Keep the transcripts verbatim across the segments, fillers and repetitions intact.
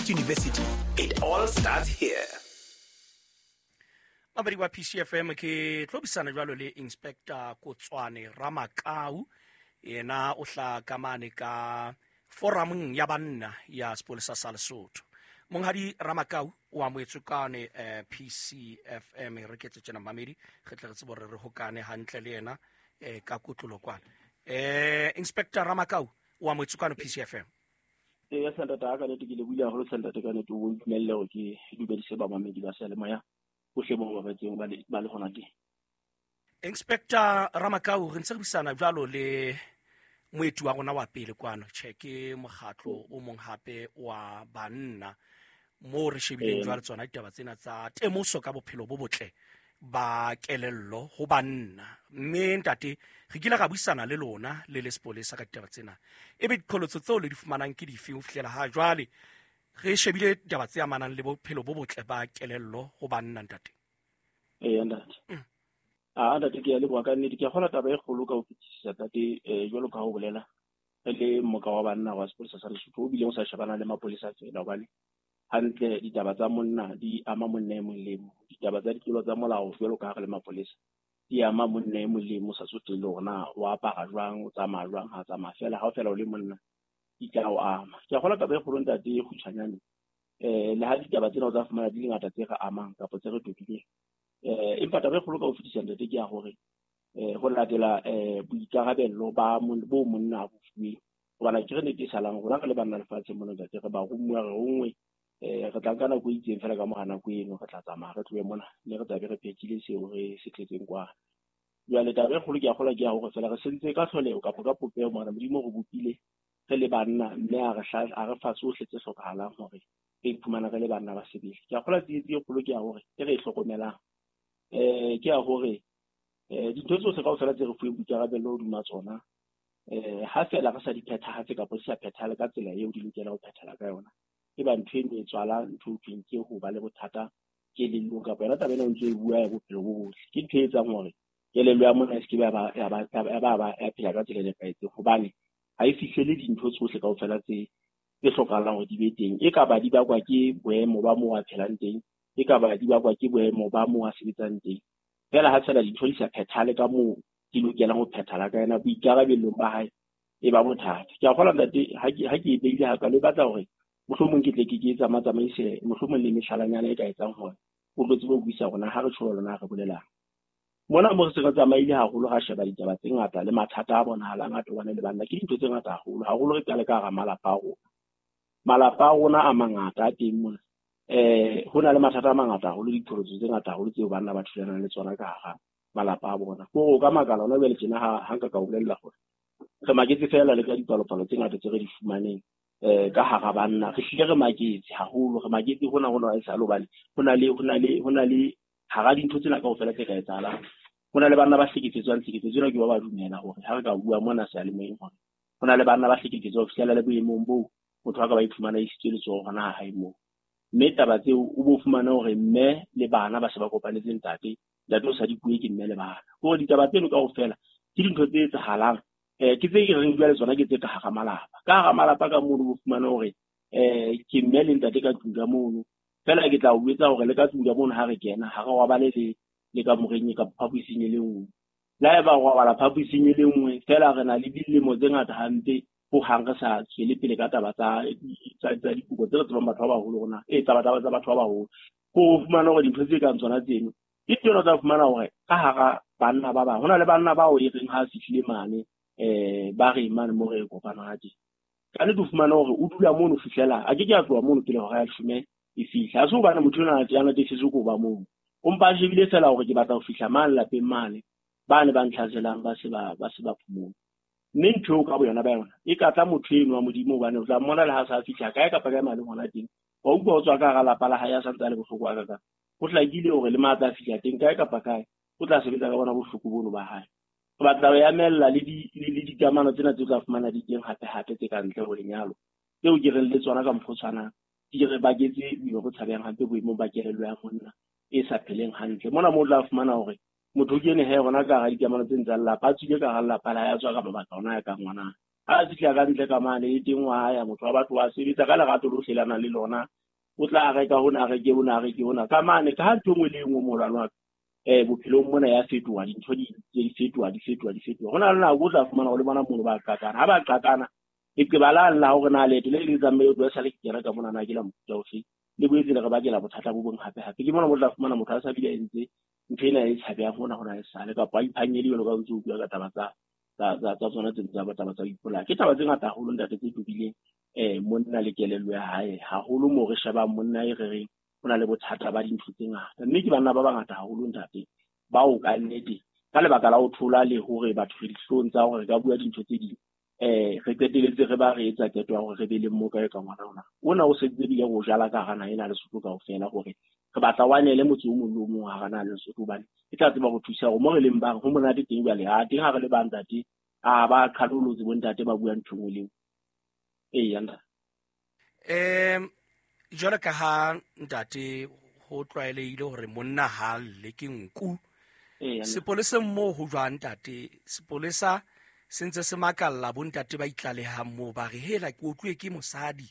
Northwest University. It all starts here. Mabedi wa P C F M ke tlobisana jwalo le Inspector Kotswane Ramakau, yena o hla ka mane ka forumeng ya banna ya Sepolesa sa Lesotho. Monghadi Ramakau o amohetswe kane eh, P C F M re ketse tjena mamedi re tle re tsebe hore re hokane hantle le yena eh, ka kotlolo kwana. Eh, Inspector Ramakau o amohetswe kane P C F M. Eh, ya Santata ka nete ke le buile haholo Santata ka nete o ntumelle hore ke dumedise ba mamedi ba seyalemoya bohle bo ba batseng ba le ba le hona teng. Inspector Ramakau re ntse re buisana jwalo le moeti wa rona wa pele kwano, tjhe ke mokgatlo o mong hape wa banna mo re shebileng jwale tsona ditaba tsena tsa temoso ka bophelo bo botle ba kelello ho banna. Mme ntate re kile ra buisana le lona le le sepolesa ka ditaba tsena, ebe diqholotso tseo le di fumanang ke dife ho fihlela ha jwale re shebile ditaba tse amanang le bophelo bo botle ba kelello ho banna ntate? Eh ntate. Ah ntate ke a leboha ka nnete, ke a kgola taba e kgolo ka ho fetisisa ntate, eh jwalo ka ho bolela re le moka wa banna wa sepolesa sa Lesotho o bile o sa shebana le mapolesa feela, hobane hantle ditaba tsa monna di ama monna e mong le mong, ditaba tsa ditlolo tsa molao jwalo ka ha re le mapolesa di ama monna e mong le mong, sa tsotelle hore na o apara jwang, o tsamaya jwang, ha tsamaya feela, ha o fela o le monna di tla o ama. Ke a kgola taba e kgolo ntate e kgutshwanyane, eh le ha ditaba tsena o tsa fumana di le ngata tse re amang kapa tse re tobileng, eh empa taba e kgolo ka ho fetisisa ntate ke ya hore eh ho latela eh boikarabello ba bo monna a bo fuweng, hobane ke re nnete e salang rona re le banna lefatsheng mona ntate, re ba romuwa re rongwe, eh re tla nka nako e itseng feela ka mora nako eno re tla tsamaya re tlohe mona mme re tlabe re phethile seo re se tletseng kwana. Jwale taba e kgolo ke a kgola ke ya hore feela re sentse ka tlholeho kapa ka popeho mona Modimo re bopile re le banna mme a re a re fa tsohle tse hlokahalang hore re iphumana re le banna ba sebele. Ke a kgola tsietsi e kgolo ke ya hore e re e hlokomelang eh ke ya hore eh dintho tsohle kaofela tse re fuweng boikarabello hodima tsona eh ha feela re sa di phethahatse kapa di sa phethahale ka tsela eo di lokelang ho phethahala ka yona, e ba ntho eno e tswala ntho e thweng ke ho ba le bothata kelellong kapa yona taba ena o ntso e bua ya bophelo bo botle, ke ntho e etsang hore kelello ya monna e se ke ya ba ya ba ya ba ya phela ka tsela e nepahetseng, hobane ha e fihlele dintho tsohle kaofela tse tse hlokahalang hore di be teng. E ka ba di bakwa ke boemo ba moo a phelang teng, e ka ba di bakwa ke boemo ba moo a sebetsang teng, feela ha feela dintho di sa phethahale ka moo di lokelang ho phethahala ka yona boikarabellong ba hae e ba bothata. Ke a kgolwa ntate ha ke ha ke e beile hakalo e batla hore mohlomong ke tle ke ke tsamaya tsamaise mohlomong le mehlalanyana e ka etsang hore o tlo tsebe ho buisa rona ha re tjho lona re bolelang. Mona mo re se re tsamaile haholo ra sheba ditaba tse ngata le mathata a bonahalang a tobane le banna, ke dintho tse ngata haholo haholo re qale ka hara malapa a rona. Malapa a rona a mangata a teng mona, eh ho na le mathata a mangata haholo, diqholotso tse ngata haholo tseo banna ba thulanang le tsona ka hara malapa a bona. Ke hore o ka makala hona jwale tjena ha ha nka ka o bolella hore re maketse feela le ka dipalopalo tse ngata tse re di fumaneng eh ka hara banna, re hlile re maketse haholo, re maketse hona hona e sale hobane ho na le ho na le ho na le hara dintho tsena kaofela tse ka etsahalang, ho na le banna ba hlekefetswang. Tlhekefetso ena ke ba ba dumela hore ha re ka bua mona seyalemoyeng hore ho na le banna ba hlekefetswang ho fihlela le boemong boo motho a ka ba iphumana isitswe letsoho hona ha hae moo, mme taba tseo o bo fumane hore mme le bana ba se ba kopanetse ntate, ntate o sa di bue ke mme le bana. Hore ditaba tseno kaofela ke dintho tse etsahalang, eh ke tse ke reng jwale tsona ke tse ka hara malapa. Ka hara malapa ka mono o fumane hore eh ke mme le ntate ka tlung ka mono, feela ke tla o etsa hore le ka tlung ka mono ha re kena ha re robale le le ka moreng ka phaposing e le nngwe, le haeba re robala phaposing e le nngwe feela re na le dilemo tse ngata hampe ho hang re sa tswele pele ka taba tsa tsa dikopo tse re tsebang batho ba baholo rona, eh taba taba tsa batho ba baholo. Ko o fumana hore dintho tse kang tsona tseno ke tsona tsa fumana hore ka hara banna ba bang ho na le banna bao e reng ha a fihlile mane eh ba re mane mo re kopana ha teng, ka nnete o fumana hore o dula mono fihlela a ke ke a tloha mono pele hora ya leshome e fihla. Ha se hobane motho enwa a natefetswe ke ho ba mono, o mpa a shebile feela hore ke batla ho fihla mane lapeng mane bane ba ntlhaselang ba se ba ba se ba phomole. Mme ntho eo ka boyona ba yona e ka tla motho eno wa Modimo, hobane o tla mmona le ha sa fihla kae kapa kae mane hona teng, wa utlwa o tswa ka hara lapa la hae a santse a le bohloko a kakang, ho hlakile hore le matla a fihla teng kae kapa kae o tla sebetsa ka bona bohloko bono ba hae. Re batla ho emella le di le dikamano tsena tse tla fumana di teng hape hape tse ka ntle ho lenyalo, tseo ke reng le tsona ka mokgwa o tshwanang di re baketse boima bo tshabehang hampe boemong ba kelello ya monna e sa pheleng hantle. Mona moo o tla fumana hore motho o kene he hona ka hara dikamano tse ntseng lelapa, a tswile ka hara lelapa la hae, a tswa ka mabaka ona ya ka ngwana. Ha a fihla ka ntle ka mane e teng wa ya motho wa batho wa sebetsa ka lerato lohle la nang le lona. O tla reka hona, a reke hona, a reke hona. Ka mane ka ha ntho e nngwe le e nngwe molwana wa ka, eh bophelong mona ya fetoha, dintho di di fetoha, di fetoha, di fetoha. Ho na le nako o tla fumana hore le bona mono ba qakana. Ha ba qakana, leqeba la la hore na leeto le le tsamaye o tloha sale ke kena ka mona na ke la mofuta ofe, le boetse le re bakela bothata bo bong hape hape. Ke mona mo tla fumana motho a sa bile a entse ntho ena e tshabehang hona hona e sale, kapa a iphanyele jwalo ka o ntse o bua ka taba tsa tsa tsa tsa tsona tse tsa taba tsa ho ipolaya. Ke taba tse ngata haholo ntate tse tobileng eh monna le kelello ya hae haholo, moo re shebang monna e re reng o na le bothata ba dintho tse ngata. Mme ke banna ba bangata haholo ntate bao ka nnete ka lebaka la ho thola le hore batho re dihlong tsa hore re ka bua dintho tse ding, eh re qeteletse re ba re etsa qeto ya hore re be le mmoka e ka ngwana rona. Ona o sentse ebile re o jala ka hara naha ena Lesotho kaofela, hore re batla wa nele motse o mong le o mong hara naha Lesotho, hobane e tla tseba ho thusa hore mo re leng bang ho monate teng jwale. Ha teng ha re le bang ntate, a ba qhalolotse bo ntate ba bua ntho e nngwe le e nngwe. Eya ntate. Em jwalo ka ha ntate ho tlwaelehile hore monna ha lle ke nku. Eya ntate. Sepoleseng moo ho jwang ntate? Sepolesa se ntse se makalla bo ntate ba itlalehang moo, ba re hela ke otluwe ke mosadi.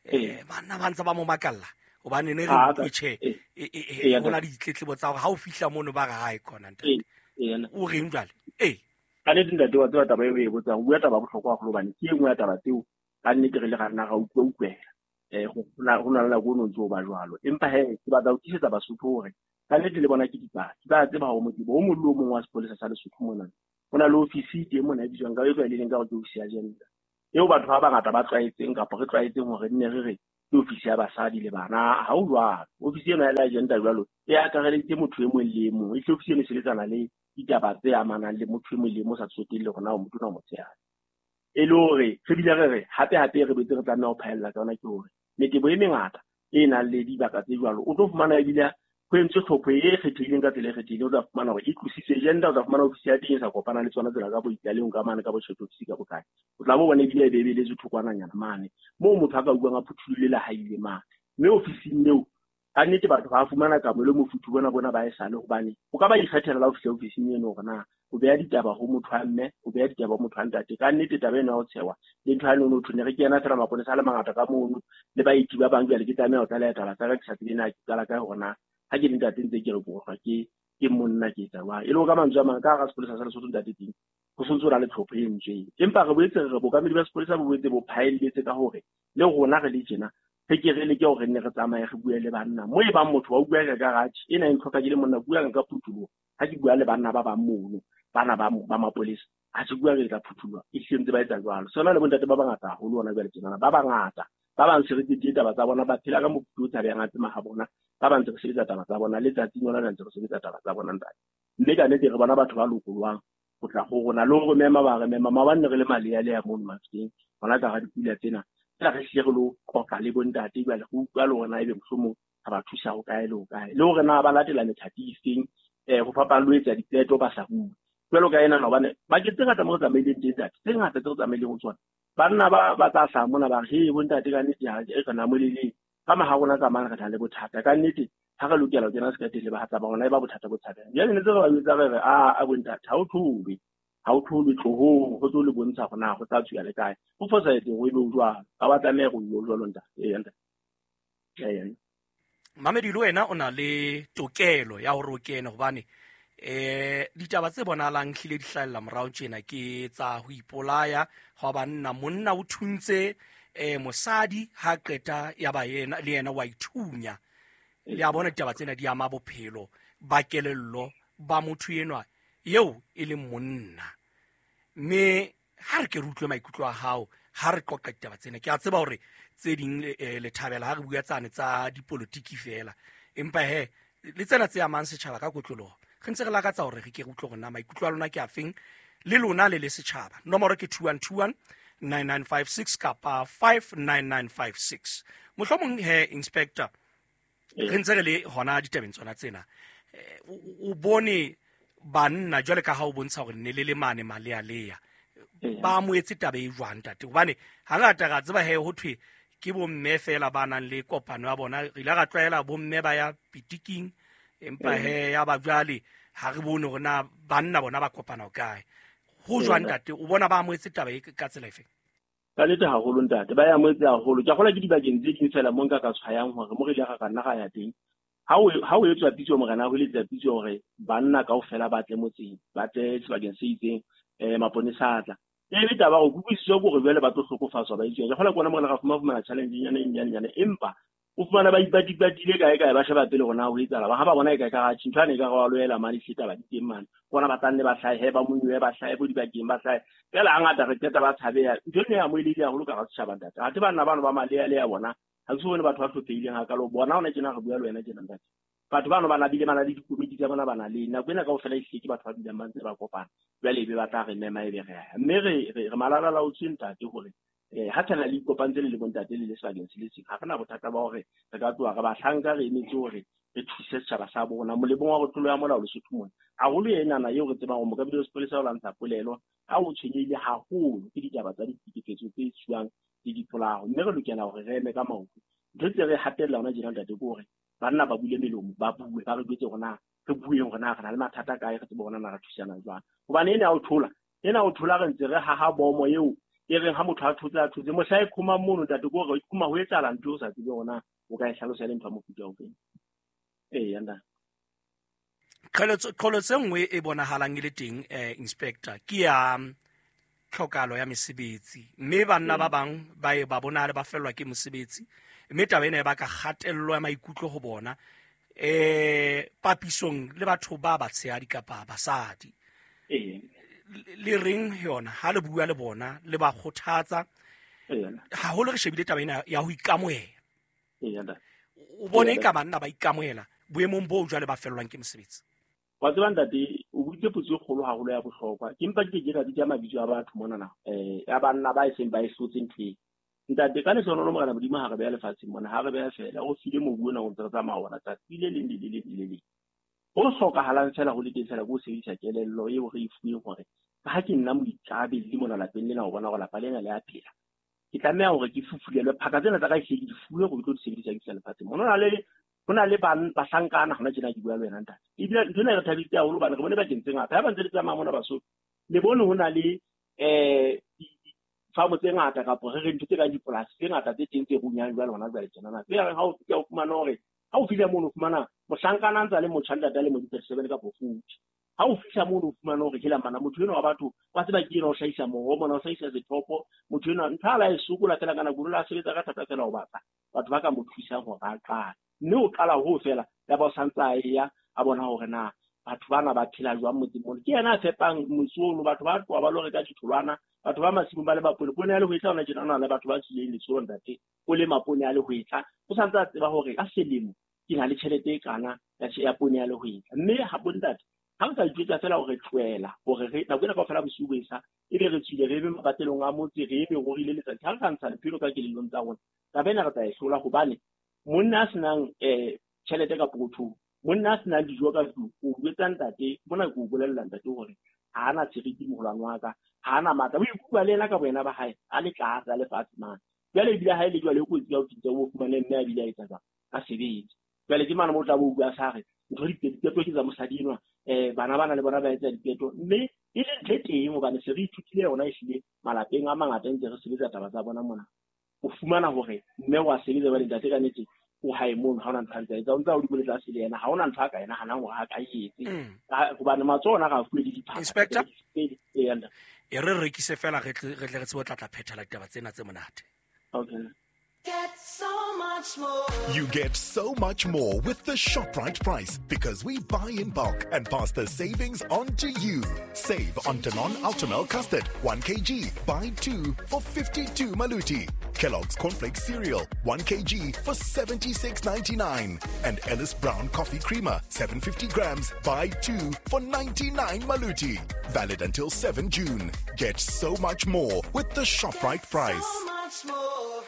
Ee. Eh banna ba ntse ba mo makalla hobane ne re Ah, utlwe tjhe, ee. e, e, e, Eya, ho na ntate. le ditletlebo tsa hore ha o fihla mono ba re ha e khona ntate. Ee, eya, ntate. O reng jwale? Ee. Ka nnete ntate wa tseba taba eo o e botsang, o bua taba ya bohlokwa haholo, hobane ke e nngwe ya taba tseo ka nnete re le ra nna ra utlwa utlwela. Eh ho na ho na le nako o no ntso o ba jwalo. Empa he ke batla ho tiisetsa Basotho hore ka nnete le bona ke dipaki. Ba tseba hore motebo o mong le o mong wa sepolesa sa Lesotho mona, ho na le ofisi teng mona e bitswang ka e tlwaelehileng ka hore ke ofisi ya gender, eo batho ba bangata ba tlwaetseng kapa re tlwaetseng hore nne re re ke ofisi ya basadi le bana. Ha ho jwalo. Ofisi ena ya gender jwalo e akareleditse motho e mong le e mong. E hle ofisi eno e sebetsana le ditaba tse amanang le motho e mong le e mong, o sa tsotelle hore na o motona o motshehadi. E le hore re bile re re hape hape re betse re tlameha ho phaella ka yona ke hore metebo e mengata e nang le dibaka tse jwalo, o tlo fumana ebile ho entswe tlhopho e kgethehileng ka tsela e kgethehileng. O tla fumana hore e tlositswe gender, o tla fumana ofisi ya teng e sa kopana le tsona tsela ka bo itlalehong ka mane ka bo chat office ka bokae. O tla bo bona ebile e bebeletswe thokwananyana mane moo motho a ka utlwang a phuthulohile le ha ile mane. Mme ofising eo ka nnete batho ba fumana kamohelo mofuthu bona bona ba esale, hobane o ka ba ikgethela la ho fihla ofising eno hore na o beha ditaba ho motho wa mme, o beha ditaba ho motho wa ntate. Ka nnete taba ena ya ho tshewa le ntho ya no no ne re kena fela maponesa a le mangata ka mono le baeti ba bang, jwale ke tlameha ho tlaleha taba tsa ka ke sa tsebe na ke qala kae hore na ha ke le ntate ntse ke re ke otlwa ke ke monna ke etsa jwang. E le hore ka mantswe a mang ka hara sepolesa sa Lesotho ntate teng ho sontse ho na le tlhopho e entsweng. Empa re boetse re re bookamedi ba sepolesa bo boetse bo phaelletse ka hore le rona re le tjena re ke re leke hore nne re tsamaye re bue le banna. Mo e bang motho wa bua ka garage ena e ntlhoka ke le monna, bua ka phuthuloho ha ke bua le banna ba bang mono, bana ba ba mapolesa, ha se bua re tla phuthuloha. E hlile ntse ba etsa jwalo. Sona le bontate ba bangata haholo hona jwale tjenana, ba bangata ba bang se re taba tsa bona, ba phela ka mofuthu o tshabehang a tsema ha bona. Ba bang ntse re sebetsa taba tsa bona letsatsing lona le ntse re sebetsa taba tsa bona ntate. Mme ka nnete re bona batho ba lokolohang ho tla ho rona le ho re mema, ba re mema. Maobane ne re le malealea mono Mafikeng hona ka hara dipula tsena, fela re hlile re lo qoqa le bontate jwale, re utlwa le hore na ebe mohlomong re ba thusa ho kae le ho kae, le hore na ba latela methati e feng, eh ho fapana le ho etsa diqeto ba sa bue. Jwalo ka ena hobane bakeng tse ngata mo re tsamaileng teng ntate, tse ngata tse re tsamaileng ho tsona, banna ba ba tla hlaha mona ba re he bontate ka nnete ha e re namoleleng ka maha rona ka mane re na le bothata ka nnete, ha re lokela ho kena sekateng le bahatsa ba rona e ba bothata bo tshabehang. Jwale ne tse re ba jwetsa re re a a bontate ha o tholwe, ha o tholwe tlohong, ho tlo le bontsha hore na ho tla tswela le kae. Ho fosahetse hore ebe o jwalo, ha wa tlameha hore o jwalo ntate. Eya ntate. Eya. Mamedi le wena o na le tokelo ya hore o kene, hobane eh ditaba tse bonahalang hlile di hlahella morao tjena ke tsa ho ipolaya hwa banna. Monna o thuntse eh mosadi ha qeta ya ba yena le yena wa ithunya. Le a bona ditaba tsena di ama bophelo ba kelello ba motho enwa eo e leng monna. Mme ha re ke re utlwe maikutlo a hao ha re qoqa ditaba tsena. Ke a tseba hore tse ding le thabela ha re bua tsane tsa dipolotiki fela, empa he le tsena tse amang setjhaba ka kotloloho re ntse re lakatsa hore re ke re utlwe hore na maikutlo a lona ke afeng le lona le le setjhaba. Nomoro ke two one two one nine nine five six kapa five nine nine five six. Mohlomong he inspector, re ntse re le hona ditabeng tsona tsena, o bone banna jwale ka ha o bontsha hore ne le le mane malealea ba amohetse taba e jwang ntate? Hobane hangata ra tseba he ho thwe ke bomme fela ba nang le kopano ya bona, re ile ra tlwaela bomme ba ya pitiking, empa he ya ba jwale ha re bone hore na banna bona ba kopana ho kae. Ho jwang ntate, o bona ba amohetse taba e ka tsela efe? Ka nnete haholo ntate, ba e amohetse haholo. Ke a kgolwa ke dibakeng tse ding fela mo nka ka tshwayang hore mo re ile ra ka nna ra ya teng. Ha o ha o etswa pitso morena ho eletsa pitso hore banna kaofela ba tle motseng, ba tle sebakeng se itseng, eh maponesa a tla. E le taba hore kutlwisiso ke hore jwale ba tlo hlokofatswa ba itseng. Ke kgolwa ke ona morena ra fumana fumana challenge nyana e nyane nyane, empa o fumana ba ipatipatile kae kae ba sheba pele hore na ho etsahala. Ha ba bona e kae ka ra ntho ane e ka re wa loela mane ehlile taba di teng mane. Ke bona ba tla nne ba hlahe, ba monyohe, ba hlahe bo dibakeng, ba hlahe. Feela hangata re qeta ba tshabeha. Ntho eno e amohelehile haholo ka hara setjhaba ntate. Athe banna bano ba malealea bona, ha ke so bone batho ba hlophehileng hakalo. Bona hona tjena re bua le wena tjena ntate. Batho bano ba nabile ba na le dikomiti tsa bona ba na le nako ena kaofela ehlile ke batho ba dulang ba ntse ba kopana. Jwale ebe ba tla re mema ebe re ya. Mme re re re malalalaotswe ntate hore eh ha fela le ikopantse le le bontate le le sebakeng se le seng, ha re na bothata ba hore re ka tloha re bahlanka re emetse hore re thuse setjhaba sa bona molemong wa go tlolo ya molao Lesotho mona. Haholo enana eo re tsebang hore mokabedi wa sepolesa o lwantsha polelo ha o tshwenyehile haholo ke ditaba tsa ditlhekefetso tse etsuwang le dipolao, mme re lokela hore re eme ka maoto. Ntho tse re hatella hona tjena ntate ke hore banna ba bule melomo, ba bue, ba re jwetse hore na re bueng hore na re na le mathata kae, re tsebe hore na re thusana jwang. Hobane ena ya ho thola, ena ya ho thola re ntse re haha bomo eo e reng ha motho a thotse a thotse mohla e khoma mono ntate ke hore e khoma ho etsahala ntho o sa tsebe hore na o ka e hlalosa le ntho ya mofuta o feng. Eya ntate. Qholotso qholotso e nngwe e bonahalang e le teng eh inspector ke ya tlhokalo ya mesebetsi, mme banna ba bang ba e ba bonahale ba fellwa ke mosebetsi, mme taba ena e baka kgatello ya maikutlo ho bona eh papisong le batho ba batshehadi kapa basadi. Ee. Le reng yona ha le bua le bona le ba kgothatsa haholo? Re shebile taba ena ya ho ikamohela. Ee ntate. O bone ka banna ba ikamohela boemong bo jwale ba fellwang ke mosebetsi. Wa tseba ntate, o buitse potso e kgolo haholo ya bohlokwa. Ke mpa ke ke ka bitsa mabitso a batho monana, eh ya banna ba e seng ba e hlotse ntho e. Ntate, ka lehlohonolo Morena Modimo ha re beha lefatsheng mona, ha re beha fela, o file mobu ona o ntse re tsamaya ona tsatsi le leng le le leng le leng. Ho hlokahalang fela ho le teng fela ke ho sebedisa kelello eo re e fuweng hore ka ha ke nna moikarabelli mona lapeng lena ho bona hore lapa lena le a phela. Ke tlameha hore ke fufulelwe phaka tsena tsa ka ehlile ke di fuwe hore ke tlo di sebedisa ke fihla lefatsheng. Mona ho na le ho na le bahlankana hona tjena ke bua le wena ntate. Ebile ntho ena e re thabisitse haholo hobane re bone bakeng tse ngata. Ha ba ntse le tsamaya mona Basotho, le bone ho na le eh difamo tse ngata kapa re re ntho tse kang dipolasi tse ngata tse teng tse runyang jwale hona jwale tjenana. Tse reng ha o fihla o fumana hore ha o fihla mono o fumana mohlankana a ntse a le motjha ntate a le mo di-thirty-seven kapa forty. Ha o fihla mono o fumana hore hela mana motho enwa wa batho wa tseba ke ena o hlahisa moroho mona, o hlahisa sethopo, motho enwa ntho a la e sokola fela ka nako, o la sebetsa ka thata fela ho batla batho ba ka mo thusang hore a qale. Mme o qala ho fela ya ba o santse a eya a bona hore na batho bana ba phela jwang motseng mona. Ke yena a fepang motse ono, batho ba tloha ba lo reka ditholwana, batho ba masimong ba le mapone. Poone ya lehwetla hona tjena, ho na le batho ba tswileng letsholo ntate, o lema poone ya lehwetla, o santse a tseba hore ka selemo ke na le tjhelete e kana ya poone ya lehwetla. Mme ha bo ntate, ha re ka itjwetsa fela hore tlohela hore re nako ena kaofela bosiu bo esa ebe re tswile re eme mapatelong a motse, re eme rorile letsatsi, ha re ka ntsha lephelo ka kelellong tsa rona, taba ena re tla e hlola. Hobane monna a senang eh tjhelete ka pokothong, monna a senang dijo ka tlung, o jwetsa ntate mona, ke o bolella ntate hore ha ana seriti moholwane wa ka, ha ana matla, o ikutlwa le yena ka boyena ba hae a le tlase a le fatshe mane. Jwale ebile ha e le jwale e kotsi ya ho fihla o fumane mme a bile a etsa jwang, a sebetse. Jwale ke mane mo tla bo bua sa re ntho diqeto ke tsa mosadi enwa, eh bana bana le bona ba etsa diqeto, mme e le ntho e teng hobane se re ithutile yona ehlile malapeng a mangata ntse re sebetsa taba tsa bona mona. O fumana hore mme wa sebetsa ba ntate ka nnete o hae mono, ha ona ntho a ntse a etsa, o ntse a hodimo le tlase le yena, ha ona ntho a ka e nahanang hore a ka e etse. Hobane matsoho ona ga a fuwe le diphaka. Inspector, Ee, ntate. e re rekise fela re tle re tle re tsebe ho tla tla phethela ditaba tsena tse monate. Okay. Get so much more. You get so much more with the ShopRite price because we buy in bulk and pass the savings on to you. Save on Danone Ultimel Custard, one kilogram, buy two for fifty-two maluti. Kellogg's Cornflakes Cereal, one kilogram for seventy-six ninety-nine. And Ellis Brown Coffee Creamer, seven hundred fifty grams, buy two for ninety-nine maluti. Valid until seventh June. Get so much more with the ShopRite price. So much more.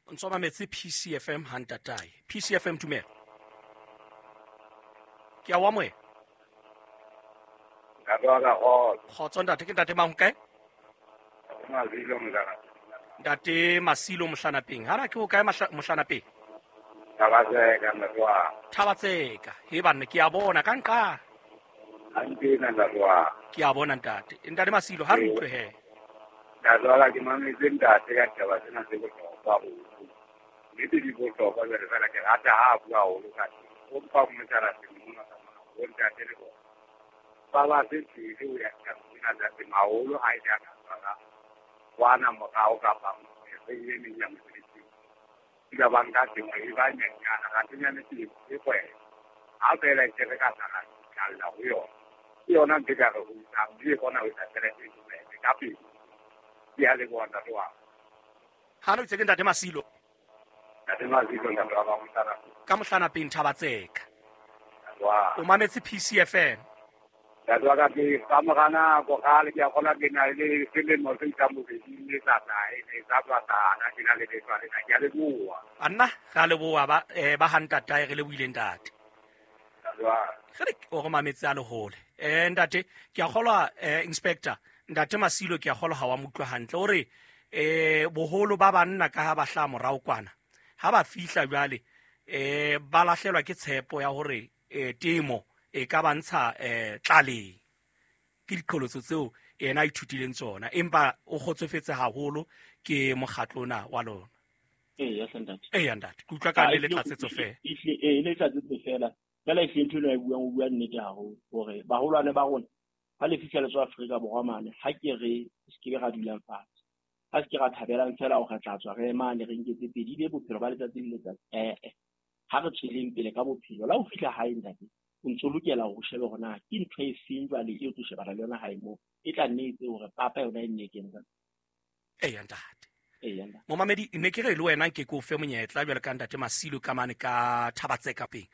O ntso mametse P C F M ha ntatae. P C F M tumelo. Ke a o amohela. Kgotso ntate, ke ntate mang kae? Ntate Masilo Mohlanapeng. Ha ra ke o kae Mohlanapeng? Thabatseka. He banna ke a bona ka nqa. Ke a bona ntate. Ntate Masilo ha re utlwe he. Ntate wa ka, ke mametse ntate ka ditaba tsena tse bohlokwa haholo. Nnete di bohlokwa jwale fela ke rata ha a bua haholo ka teng. O mpa mona mona ka mona, bo ntate le bona. Ba ba se pele ho ya tabeng tsena tsa temo haholo ha e le a ka tshwara kwana morao kapa e meng ya mosebetsing. Dula ba nka temo e ba nyenyana, kante nyane temo ke kgwebo. Ha feela e re ka tla ra ho yona. Ke yona ntho e ka re husang, mme e kgona ho etsa tjhelete e bobebe ka pele. Ke a leboha ntate wa ka. Ha re itse ke ntate Masilo. Ntate Masilo, ntate wa ka, mohlana. Ka mohlana peng Thabatseka. Ntate wa O mametse P C F M. Ntate wa ka, ke ka mora nako kgale ke a kgolwa ke na le selemo se isang bobeding le sa tlae, le sa tswa hlana, ke na le lefa lena. Ke a leboha. Anna, re a leboha ba, eh, ba ha ntatae, re lebohile ntate. Ntate wa ka. Re re o re mametse a le hole. Eh, ntate, ke a kgolwa, eh, Inspector, ntate Masilo ke a kgolwa ha wa mo utlwa hantle. O re, eh, boholo ba banna ka ha ba hlaha morao kwana, ha ba fihla jwale, eh, ba lahlelwa ke tshepo ya hore, eh, temo e ka ba ntsha, eh, tlaleng. Ke diqholotso tseo yena a ithutileng tsona, empa o kgotsofetse haholo ke mokgatlo ona wa lona. Eya, hle ntate. Eya, ntate. Ke utlwa ka Ah, le le ehlile tlatsetso feela. ehlile, ee, le tlatsetso feela. Fela ehlile ntho eno a e buang, o bua nnete haholo hore baholwane ba rona ha le fihla le tswa Afrika Borwa mane, ha ke re se ke be ra dulang fatshe. Ha se ke ra thabelang fela hore re tla tswa re mane re nketse pedi, ebe bophelo ba letsatsi le letsatsi. Eh, eh. Ha re tsweleng pele ka bophelo. La ho fihla hae ntate, o ntso lokela hore o shebe hore na ke ntho e feng jwale eo tlo shebana le yona hae moo. E tla nne e etse hore papa yona e nne e kene ka. Eya, ntate. Eya, ntate. Momamedi, ne ke re le wena nke ke o fe monyetla jwalo ka ntate Masilo ka mane ka Thabatseka peng.